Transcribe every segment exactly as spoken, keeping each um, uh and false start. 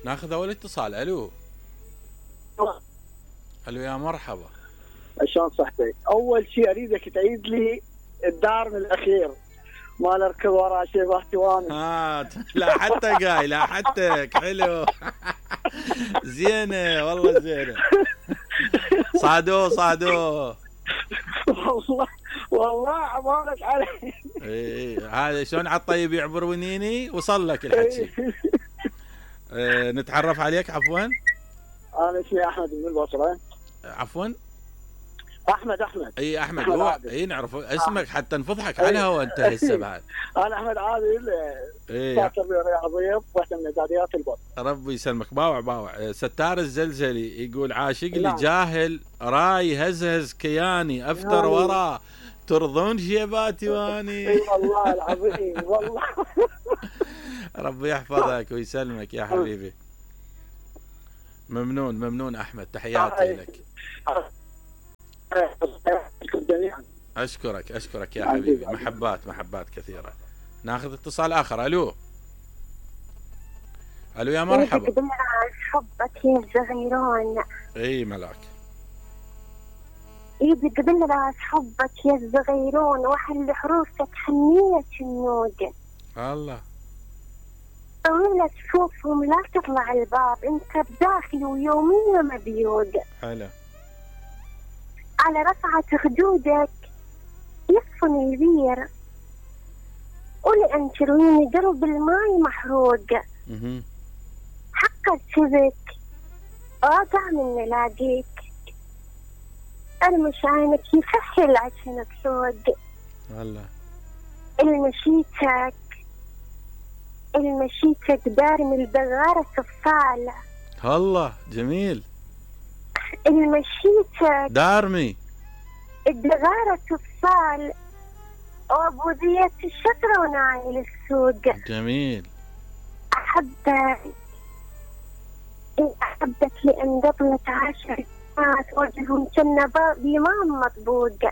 ناخذ اول اتصال. الو الو يا مرحبا. شلون صحتك؟ اول شيء اريدك تعيد لي الدار من الاخير، ما نركض ورا شيء باهتواني. ها لا حتى قاي لا حتى حلو. زينه والله زينه. صعدوه صعدوه. والله والله عبارك علي. اي هذا شلون على الطيب يعبر ونيني وصل لك الحكي. اه نتعرف عليك عفوا. انا اسمي احمد من البصره. عفوا احمد احمد اي احمد, أحمد هو اي نعرف اسمك حتى نفضحك على الهواء انت هسه بعد. انا احمد عادل. اي تربيه رياضيه واحده من اعداديات البط. ربي يسلمك. باوع باوع. ستار الزلزلي يقول عاشق لي نعم. جاهل راي هزهز كياني افتر وراه ترضون شيباتي واني. اي والله العظيم والله. ربي يحفظك ويسلمك يا حبيبي. ممنون ممنون احمد. تحياتي لك. اشكرك اشكرك يا حبيبي. محبات محبات كثيره. ناخذ اتصال اخر. الو الو يا مرحبا. حبك يا الزغيرون. اي ملاك. ايدي قبل راس حبك يا الزغيرون وحل حروفك حنية النود. الله. طويلة صفوفهم لا تطلع الباب انت بداخل ويوميا مبيود. حلو. على رفعة خدودك يصفن البير ولأن ترويني قلب الماي محروق. اها حقك شبك واقع من نلاقيك ارمش عينك يسهل عشانك سوق. والله. المشيتك المشيتك دار من البغارة صفالة. الله جميل. المشيتك دارمي الدغارة صفال وابو زيت الشطرة ونايل السوق. جميل. احبك احبك لان قبلت عشر ناس وجههم كنا بإمام مطبوق.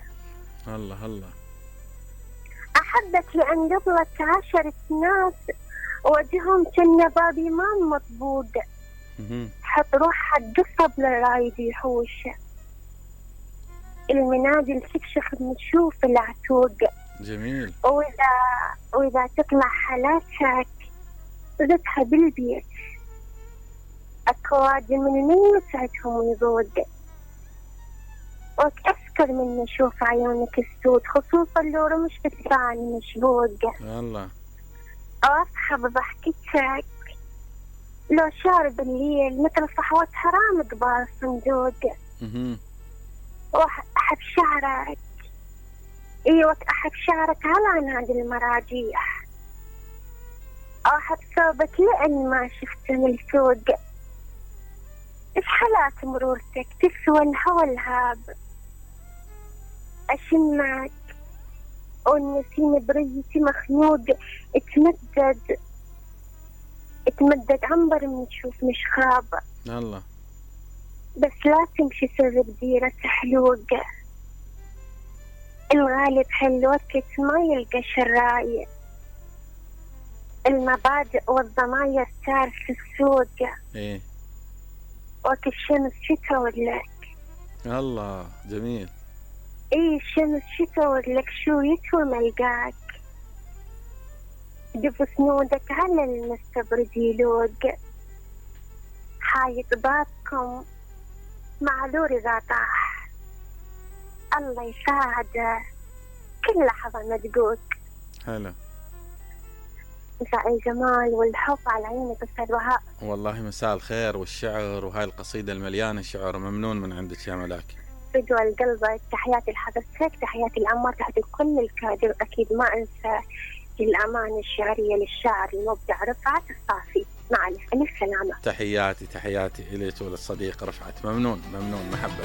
الله الله. احبك لان قبلت عشر ناس وجههم كنا بإمام مطبوق. حط روحك قصب للرايد يحوش المنادل تكشخ بنشوف العتوق. جميل. واذا واذا تطلع حالاتك زدها بالبيت اكواد من مين يسعدهم ويضوق. وتأسكر من نشوف عيونك السود خصوصا لو رمش بالثاني مشبوق. الله. واصحى بضحكتك لو شارب الليل مثل صحوة حرام قبال الصندوق. اها. واحب شعرك ايوه احب شعرك على نادي المراجيح. احب ثوبك لان ما شفته من السوق. ايش حالات مرورتك تسوى الهوى الهاب. اشمك والنسيم بريتي مخنوق اتمدد اتمدد عنبر من تشوف مش خاب. الله. بس لا تمشي سر بديرة حلوق. الغالب هالوقت ما يلقى شراية. المبادئ والضماير صار في السوق. ايه. وقت الشمس شتا ولك. الله جميل. ايه الشمس شتا ولك شو يتوى ملقاك. دف سنودك على المستبرد يلوق. حايط بابكم معذور إذا طاح. الله يساعده كل لحظة مدقوق. حلو. مساء الجمال والحب على عينك أستاذ وهاء. والله مساء الخير والشعر وهاي القصيدة المليانة شعر. ممنون من عندك يا ملاك. فدوى القلب. تحياتي لحضرتك تحياتي الأمة تحياتي لكل الكادر. أكيد ما أنسى الأمانة الشعرية للشاعر المبدع رفعت الصافي. مع الف سلامة. تحياتي تحياتي إليك وللصديق رفعت. ممنون ممنون محبة.